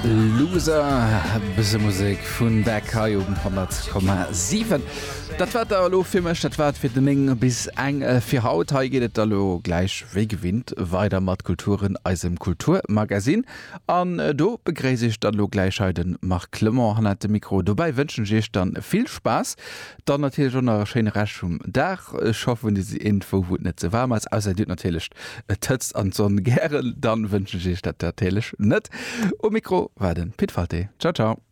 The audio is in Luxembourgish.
Loser, bësse Musek vun Beck hei um 100,7. Dat war et da elo fir mech, dat war et fir den 9 bis eng fir haut. Hei geet et da lo gläich wéi gewinnt weider mat Kulturen, eisem Kulturmagazin. An do begréisse ech dann elo gläich hei de Marc Clement hannert dem Mikro. Dobäi wënschen ech iech dann vill Spaass, dann natierlech och nach e schéine Rescht vum Dag. Ech hoffen dir sidd iergendwou wou et net ze waarm ass, ausser dir hutt natierlech d'Hëtzt an d'Sonn gären, dann wënschen ech iech dat natierlech net. Um Mikro war de Pit Walté. Ciao ciao.